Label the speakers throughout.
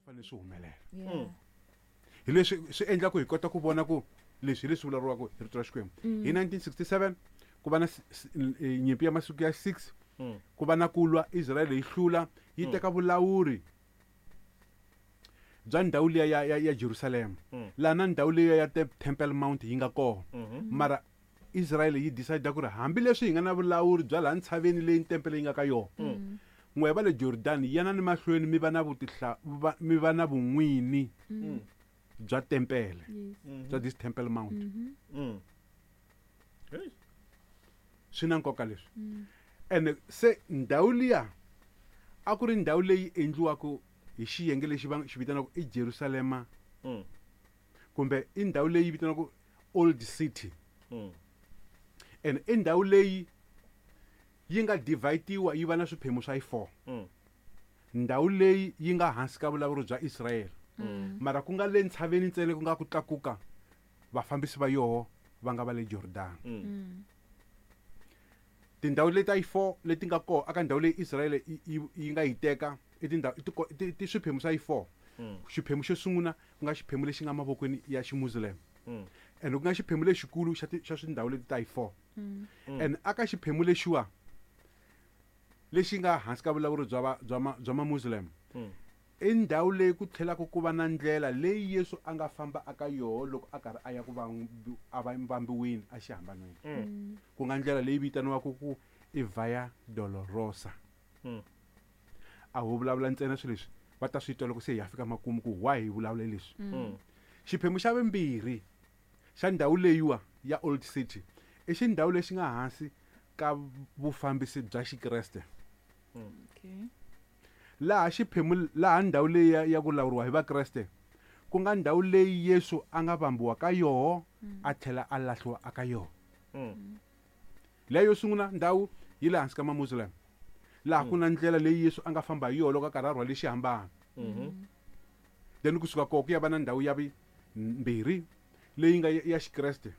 Speaker 1: Fanele swi humelela.
Speaker 2: Yeah.
Speaker 1: Hi leswi swi endla ku hi kota ku vona ku leswi hi leswi vulavuriwaka hi rito ra Xikwembu. Hi 1967 ku va na nyimpi ya masiku ya 6, ku va na ku lwa, Israel yi hlula, yi teka vulawuri bya ndhawu liya ya Jerusalem. Laha na ndhawu liya ya Temple Mount yi nga kona. Mara Israel yi decide ku ri hambileswi hi nga na vulawuri bya laha ntshaveni leyi tempele yi nga ka yona, n'we va le Jordan yana ni mahlweni mi va na vutihla-, va, mi va na vun'wini bya tempele, bya this Temple Mount.
Speaker 3: Hey.
Speaker 1: Swi na nkoka leswi. Ene se ndhawu liya a ku ri ndhawu leyi endliwaka hi xiyenge lexi va xi vitanaka i Jerusalema. Kumbe i ndhawu leyi vitaniwaka Old City. Ene i ndhawu leyi yi nga divide-iwa yi va na swiphemu swa yi 4. Ndhawu leyi yi nga hansi ka vulawuri bya Israel. Mara ku nga le ntshaveni ntsena ku nga ku tlakuka vafambisi va yoho va nga va le Jordan. Tindhawu leti ta yi 4 leti nga kona aka ndhawu leyi Israel yi nga yi teka i tindhawu, i tiko, i ti, ti swiphemu swa yi 4. Xiphemu xo sungula ku nga xiphemu lexi nga mavokweni ya Ximuslim. And ku nga xiphemu lexikulu xa xa swindhawu leti ta yi 4. And aka xiphemu lexiwa lexi nga hansi ka vulawuri bya va, bya ma, bya ma Muslim. I ndhawu leyi ku tlhelaka ku va na ndlela leyi Yesu a nga famba aka yoho loko a karhi a ya ku a va vambiwini a xihambanweni. Ku nga ndlela leyi vitaniwaka ku i Via Dolorosa. A ho vulavula ntsena swilo leswi va ta swi twa loko se hi ya fika makumu ku why hi vulavula leswi. Xiphemu xa vumbirhi xa ndhawu leyiwa ya Old City i xindhawu lexi nga hansi ka vufambisi bya Xikreste. Laha xiphemu, laha ndhawu leyi ya ku lawuriwa hi Vakreste, ku nga ndhawu leyi Yesu a nga vambiwa ka yoho, a tlhela a lahliwa aka yoho. Leyo yo sungula ndhawu yi le hansi ka Mamuslim, laha ku na ndlela leyi Yesu a nga famba hi yoho loko a karhi a rhwale xihambano. Then kusuka kona ku ya va na ndhawu ya vumbirhi leyi nga ya Xikreste.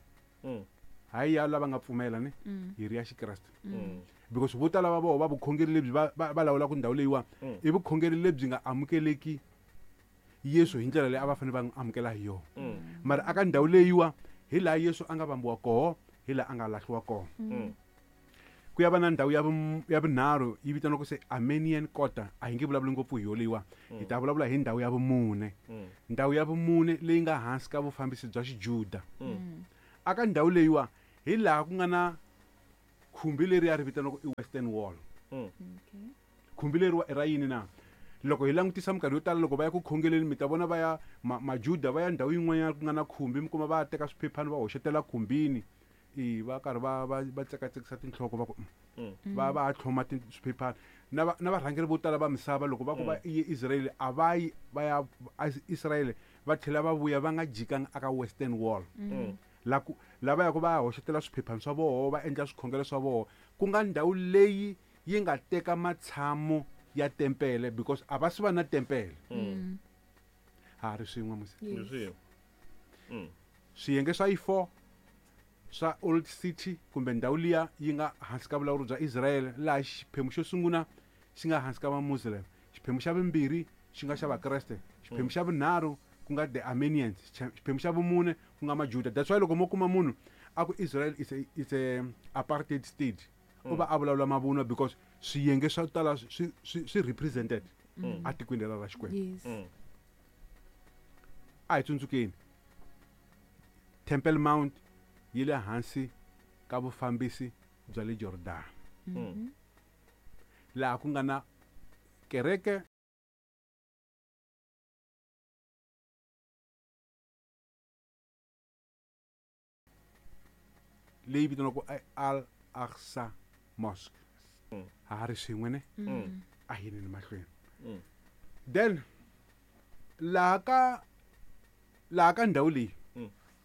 Speaker 1: Hayi ya lava nga pfumela ni, hi ri ya Xikreste. Because vo tala va voho va vukhongeri lebyi va lawulaka ndhawu leyiwa, i vukhongeri lebyi nga amukeleki Yesu hi ndlela leyi a va fanele va n'wi amukela hi yona. Mara aka ndhawu leyiwa hi laha Yesu a nga vambiwa koho, hi laha a nga lahliwa kona. Ku ya va na ndhawu ya vunharhu yi vitaniwaka se Armenian Quarter. A hi nge vulavuli ngopfu hi yo leyiwa, hi ta vulavula hi ndhawu ya vumune. Ndhawu ya vumune leyi nga hansi ka vufambisi bya Xijuda. Aka ndhawu leyiwa hi laha ku nga na khumbi leri ya ri vitaniwaka i Western Wall. Khumbi leriwa i ra yini na? Loko hi langutisa minkarhi yo tala loko va ya ku khongeleni, mi ta vona va ya Majuda va ya ndhawu yin'wanyana ku nga na khumbi, mi kuma va teka swiphephana va hoxetela khumbini. I va karhi va tsekatsekisa tinhloko va ku, va tlhoma swiphephana. Na varhangeri vo tala va misava loko va ku va ye Israel, a va yi va ya Israel va tlhela va vuya va nga jikanga aka Western Wall. La ku, lava yaka va ya hoxetela swiphephana swa voho, va endla swikhongelo swa voho, ku nga ndhawu leyi yi nga teka matshamo ya tempele, because a va swi va na tempele. Ha ri swin'we musi.
Speaker 2: Yes.
Speaker 3: Swin'we.
Speaker 1: Swiyenge swa yi 4 swa Old City kumbe ndhawu liya yi nga hansi ka vulawuri bya Israel, laha xiphemu xo sungula xi nga hansi ka Vamuslim, xiphemu xa vumbirhi xi nga xa Vakreste, xiphemu xa vunharhu ku nga the Armenians, xiphemu xa vumune ku nga Majuda. That's why loko mo kuma munhu a ku Israel is a apartheid state, u va a vulavula mavunwa because swiyenge swa tala swi represented atikweni lera ra Xikwembu. A hi tsundzukeni Temple Mount yi le hansi ka vufambisi bya le Jordan. Laha ku nga na kereke leyi vitaniwaka Al-Aqsa Mosque. Ha ha ri swin'we ne? A hi yeni mahlweni. Then laha ka ndhawu leyi,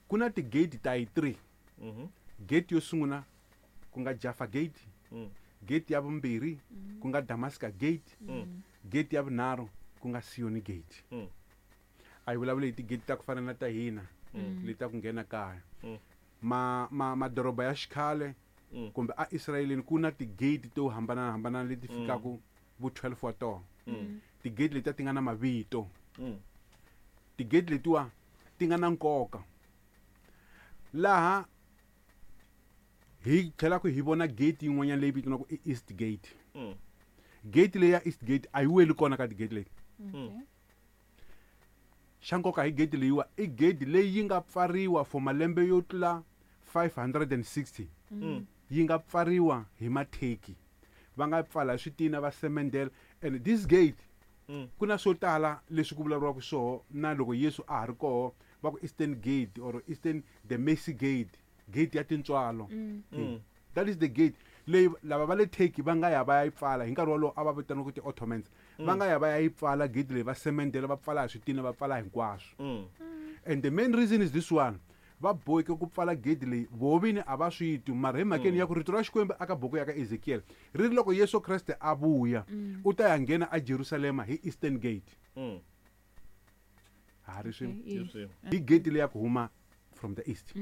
Speaker 1: ku na ti-gate ta yi 3. Gate yo sungula ku nga Jaffa Gate, gate ya vumbirhi ku nga Damascus Gate, gate ya vunharhu ku nga Sioni Gate. A hi vulavuli hi ti-gate ta ku fana na ta hina, leti ta ku nghena kaya. Madoroba ya xikhale kumbe a Israeleni ku na ti-gate to hambanahambana leti fikaka vo 12 wa tona. Ti-gate letiya ti nga na mavito. Tigate letiwa ti nga na nkoka. Laha hi tlhelaku hi vona gate yin'wanyana leyi vitaniwaka i East Gate. Gate leyi ya East Gate a yi weli kona ka tigate leti. Xa nkoka hi gate leyiwa i gate leyi yi nga pfariwa for malembe yo tlula 560. Yi nga pfariwa hi matheki. Va nga pfala switina va semendela. And this gate ku na swo tala leswi ku vulavuriwaka swoho na loko Yesu a ha ri koho va ku Eastern Gate or Eastern the Mercy Gate, gate ya tintswalo. That is the gate leyi lava va le Turkey va nga ya va ya yi pfala hi nkarhi wolowo a va vitaniwa ku ti-Ottomans. Va nga ya va ya yi pfala gate leyi va semendela va pfala hi switina va pfala hinkwaswo. And the main reason is this one. Va boheke ku pfala gate leyi voho vini a va swi twi mara hi mhakeni ya ku rito ra Xikwembu aka buku ya ka Ezekiel ri ri loko Yesu Kreste a vuya u ta ya nghena a Jerusalema hi Eastern Gate. Ha ri swin'we. Hi gate leyi ya ku huma from the east.